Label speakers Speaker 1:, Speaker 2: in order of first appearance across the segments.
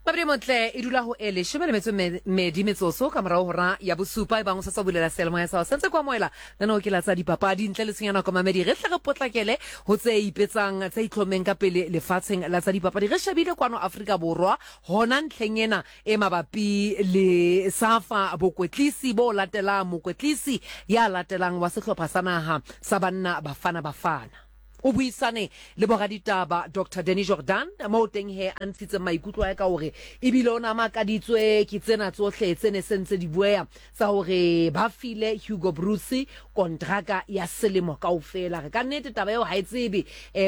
Speaker 1: Mabedi Motle e dula ho e leshome le metso e medi metsotso ka morago hora ya bosupa. E bang o sa tswa bulela seyalemoya sa hao, se ntse ko amohela lenaneo ke la tsa dipapadi. Ntle le tshenyo ya nako mamedi, re hle re potlakele ho tse ipetsang, tse itlhommeng ka pele lefatsheng la tsa dipapadi. Re shebile kwano Afrika Borwa hona ntlheng ena e mabapi le SAFA, bokwetlisi bo latelang, mokwetlisi ya latelang wa sehlopha sa naha sa banna Bafana Bafana. O buisane le boraditaba Doctor Danny Jordaan moo teng he a ntshitseng maikutlo a ka hore ebile o ne a makaditswe ke tsena tsohle tse ne se ntse di bueha tsa hore ba file Hugo Broos kontraka ya selemo kaofela. Re ka nnete taba eo ha e tsebe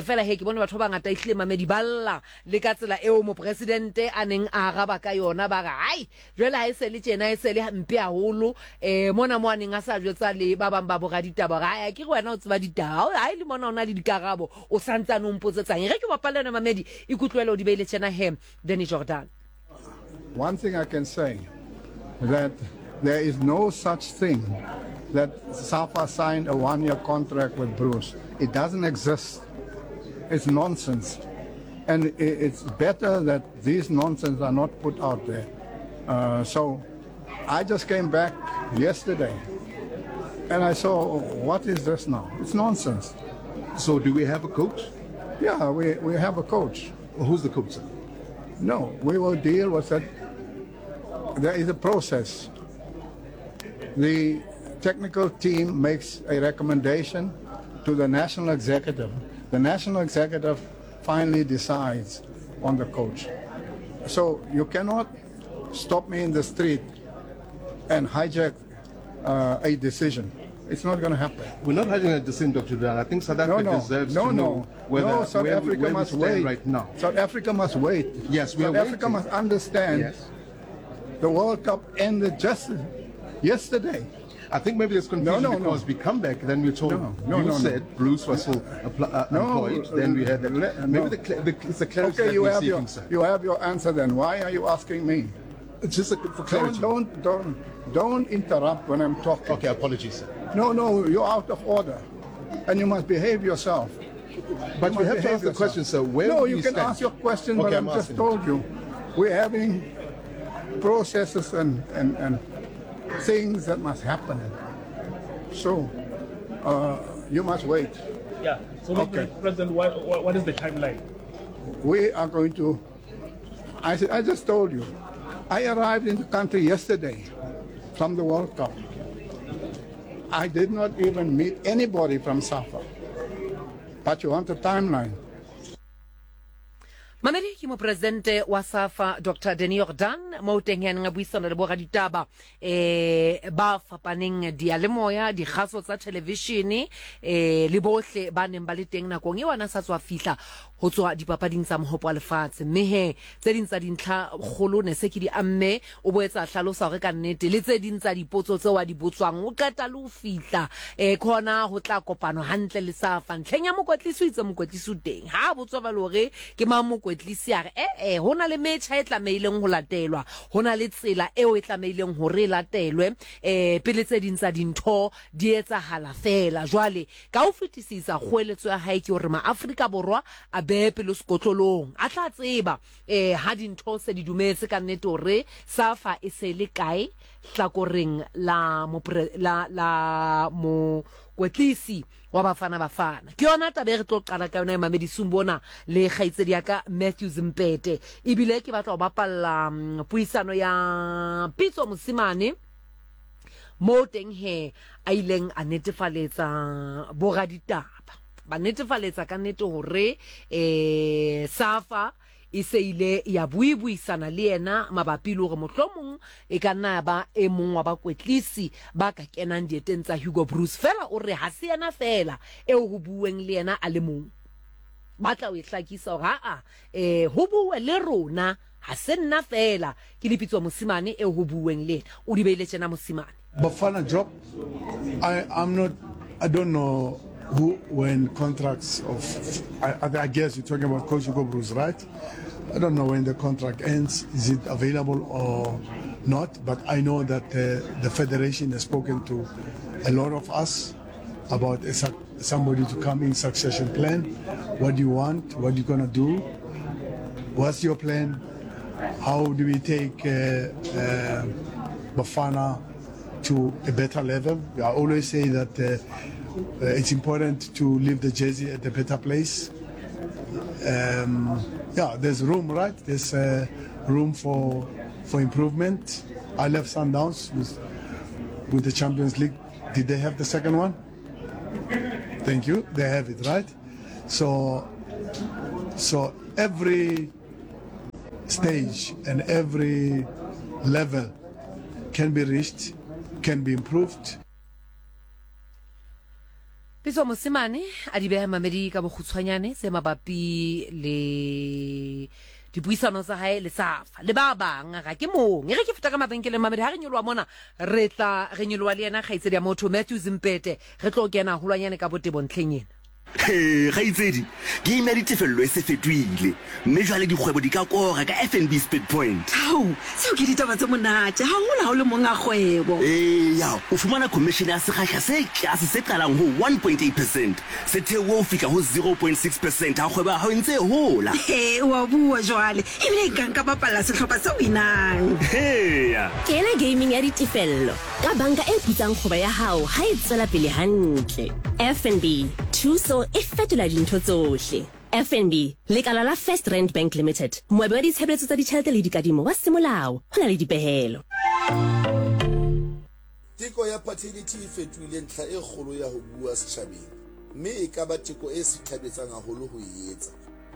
Speaker 1: fela he ke bone batho ba bangata ehlile mamedi ba lla le ka tsela eo mopresidente a neng a araba ka yona ba re hai Jwale ha e se le tjena, e se le mpe haholo. Eh, mona mo a neng a sa jwetsa le ba bang ba boraditaba hore, Ai, akere wena o tseba ditaba. Ha e le mona o na le dikarabo, o sa ntsane o mpotsetsang. E re ke bapalle yona mamedi, ikutlwele o di beile tjena he, Danny Jordaan.
Speaker 2: One thing I can say, that there is no such thing that SAFA signed a one-year contract with Broos. It doesn't exist. It's nonsense. And it's better that these nonsense are not put out there. So I just came back yesterday and I saw, what is this now? It's nonsense.
Speaker 3: So do we have a coach?
Speaker 2: Yeah, we have a coach.
Speaker 3: Who's the coach, sir?
Speaker 2: No, we will deal with it. There is a process. The technical team makes a recommendation to the national executive. The national executive finally decides on the coach. So you cannot stop me in the street and hijack a decision. It's not going to happen.
Speaker 3: We're not hijacking a decision, Dr. Jordaan. I think South Africa
Speaker 2: No, no.
Speaker 3: deserves
Speaker 2: No,
Speaker 3: to
Speaker 2: no.
Speaker 3: know
Speaker 2: No, South Africa
Speaker 3: where we
Speaker 2: must
Speaker 3: stand
Speaker 2: wait.
Speaker 3: right now.
Speaker 2: South Africa must wait.
Speaker 3: Yes, we
Speaker 2: South
Speaker 3: are
Speaker 2: Africa
Speaker 3: waiting.
Speaker 2: must understand
Speaker 3: Yes.
Speaker 2: the World Cup ended just yesterday.
Speaker 3: I think maybe there's confusion
Speaker 2: No, no, no.
Speaker 3: because we come back, then we're told
Speaker 2: No, no,
Speaker 3: you
Speaker 2: no, no.
Speaker 3: said Broos was still
Speaker 2: No,
Speaker 3: employed. Then we had that. Maybe
Speaker 2: no.
Speaker 3: it's the clarity
Speaker 2: Okay,
Speaker 3: that we're seeking, sir.
Speaker 2: you have your answer then. Why are you asking me?
Speaker 3: It's just for clarity.
Speaker 2: Don't interrupt when I'm talking.
Speaker 3: Okay, apologies, sir.
Speaker 2: No, no, you're out of order, and you must behave yourself.
Speaker 3: But
Speaker 2: You
Speaker 3: we
Speaker 2: must
Speaker 3: have to
Speaker 2: behave
Speaker 3: ask the
Speaker 2: yourself.
Speaker 3: question, sir. Where
Speaker 2: No,
Speaker 3: do
Speaker 2: you
Speaker 3: we
Speaker 2: can
Speaker 3: stand?
Speaker 2: ask your question, but
Speaker 3: Okay,
Speaker 2: I've
Speaker 3: I'm
Speaker 2: just
Speaker 3: asking.
Speaker 2: told you, we're having processes and things that must happen. So you must wait.
Speaker 4: Yeah. So,
Speaker 2: Okay.
Speaker 4: President, what is the timeline?
Speaker 2: We are going to. I just told you, I arrived in the country yesterday from the World Cup. I did not even meet anybody from SAFA. But you want a timeline.
Speaker 1: Mamedi ke mopresidente wa SAFA Doctor Danny Jordaan mo teng ya neng a buisana le boraditaba ba fapaneng diyalemoya, dikgaso tsa thelevishene le bohle ba neng ba le teng nakong eo a na sa tswa fihla ho tswa dipapading tsa mohopo wa lefatshe. Mme he tse ding tsa dintlha kgolo ne se ke di amme, o boetse a hlalosa hore ka nnete le tse ding tsa dipotso tseo a di botswang o qeta le ho fihla ke hona ho tla kopano hantle le SAFA. Ntlheng ya mokwetlisi o itse mokwetlisi o teng, ha a botswa jwale hore ke mang mokwetlisi a re e-e ho na le metjha e tlamehileng ho latelwa, ho na le tsela eo e tlamehileng hore e latelwe pele tse ding tsa dintho di etsahala feela. Jwale ka ho fetisisa kgoeletso ya hae ke hore Ma-Afrika Borwa a behe pelo sekotlolong, a tla tseba ha dintho se di dumetse ka nnete hore SAFA e se le kae hlakoreng la la, la mokwetlisi wa Bafana Bafana. Ke yona taba e re tlo qala ka yona e mamedisung bona le kgaitsedi ya ka Matthews Mpete. Ebile ke batla ho bapalla puisano ya Pitso Mosimane moo teng he a ileng a netefaletsa boraditaba. Ba netefaletsa ka nnete hore SAFA e se ile ya buibuisana le yena mabapi le hore mohlomong e ka nna ya ba e mong wa bakwetlisi ba ka kenang dieteng tsa Hugo Broos. Feela o re ha se yena feela eo ho buuweng le yena a le mong. Ba tla o e hlakisa hore ha-a, ho buuwe le rona, ha se nna feela. Ke Lepitso Mosimane eo ho buuweng le yena. O di beile tjena Mosimane.
Speaker 5: Bafana job, I, I'm not, I don't know who, when contracts of, I guess you're talking about Coach Hugo Broos, right? I don't know when the contract ends, is it available or not, but I know that the federation has spoken to a lot of us about somebody to come in succession plan. What do you want? What are you going to do? What's your plan? How do we take uh, uh, Bafana to a better level? I always say that uh, uh, it's important to leave the jersey at a better place. Um, yeah, there's room, right? There's uh, room for for improvement. I left Sundowns with, with the Champions League. Did they have the second one? Thank you. They have it, right? So, so every stage and every level can be reached, can be improved.
Speaker 1: Pitso Mosimane a di beha mamedi ka bokgutshwanyane tse mabapi le dipuisano tsa hae le Safa le ba bang ga ke mong e re ke feta ka mabenkeleng mamedi ha re nyoloha mona re tla re nyoloha le yena kgaitsedi ya motho Matthew Zimpete re tlo kena holwanyane ka botebo ntlheng ena.
Speaker 6: Hee, kgaitsedi, game ya ditefello e se fetohile, mme jwale dikgwebo di ka kora ka FNB Speed Point.
Speaker 7: Hao, tseo ke ditaba tse monate, haholo ha o le monga kgwebo.
Speaker 6: Eya, o fumana khomishene ya sekgahla se tlase se qalang ho 1.8 percent, se theohe ho fihla ho 0.6 percent ha kgwebo ya hao e ntse e hola.
Speaker 7: Hee, o a bua jwale, ebile nka nka bapalla sehlopha se winang.
Speaker 6: Heya!
Speaker 8: Kena gaming ya ditefello ka banka e putsang kgwebo ya hao ha e tswela pele hantle. FNB, thuso e fetola dintho tsohle. FNB, lekala la First Rand Bank Limited, moabi wa ditshebeletso tsa ditjhelete le dikadimo wa semolao, ho na le dipehelo.
Speaker 9: Teko ya paternity e fetohile ntlha e kgolo ya ho bua setjhabeng mme e ka ba teko e sithabetsang haholo ho e etsa.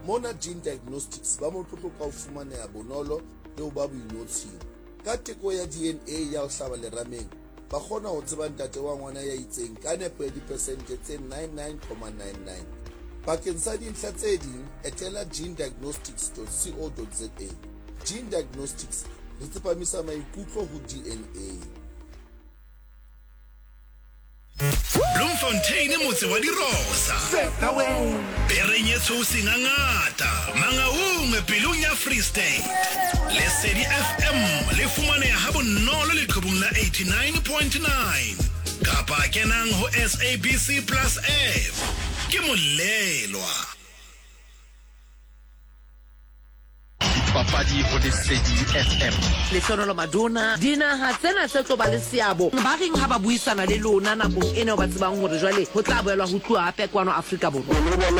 Speaker 9: Mona Gene Diagnostics ba motlotlo ka ho fumaneha bonolo le ho ba boinotshing. Ka teko ya DNA ya ho hlaba lerameng, ba kgona ho tseba ntate wa ngwana ya itseng ka nepo ya dipersente tse 99,99. Bakeng sa dintlha tse ding, etela genediagnostics.co.za. Gene Diagnostics, re tsepamisa maikutlo ho DNA.
Speaker 10: Bloemfontein motse wa dirosa. Bereng ye tshweu sengangata Mangaung pelong ya Free State. Lesedi FM le fumaneha ha bonolo leqhubung la 89.9 kapa kenang ho SABC Plus app. Ke molelwa.
Speaker 11: Dipapadi ho Lesedi FM.
Speaker 1: Lehlohonolo Madona, Dinaha tsena tse tlo ba le seabo ba reng ha ba buisana le lona nakong ena eo ba tsebang hore jwale ho tla boelwa ho tluwa hape kwano Afrika Borwa?
Speaker 12: Le bona